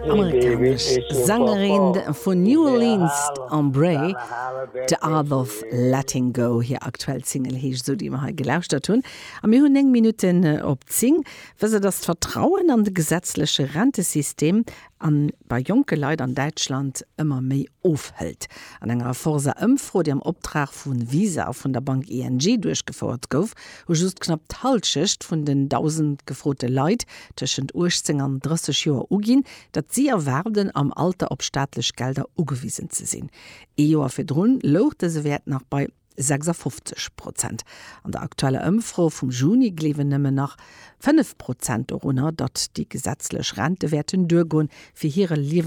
Amerikanesch Sängerin vun New Orleans, d'Ambré, The Art of Letting Go, hir aktuell Single heescht esou, déi mer hei gelauschtert hunn. A mir hunn 9 Minutten op 10. Wësst Der, dass d'Vertrauen an de gesetzleche Rentesystem an bei jonke Leit an Däitschland ëmmer méi ofhëlt. An enger Forsa-Ëmfro, déi am Optrag vu Visa a vun der Bank ING duerchgefouert gouf, hu just knapp d'Hallschecht vun den 1.000 gefrote Leit tëschent 18 an 30 Joer uginn, datt si erwaarden, am Alter op staatlech Gelder ugewisen ze sinn. Ee Joer virdrun louch dëse Wäert nach bei 56 Prozent. An der aktueller Ëmfro vum Juni gleewen nëmmen nach 5 Prozent dorunner, datt déi gesetzlech Rente wäerten duergoen, fir hire Liewensstandards.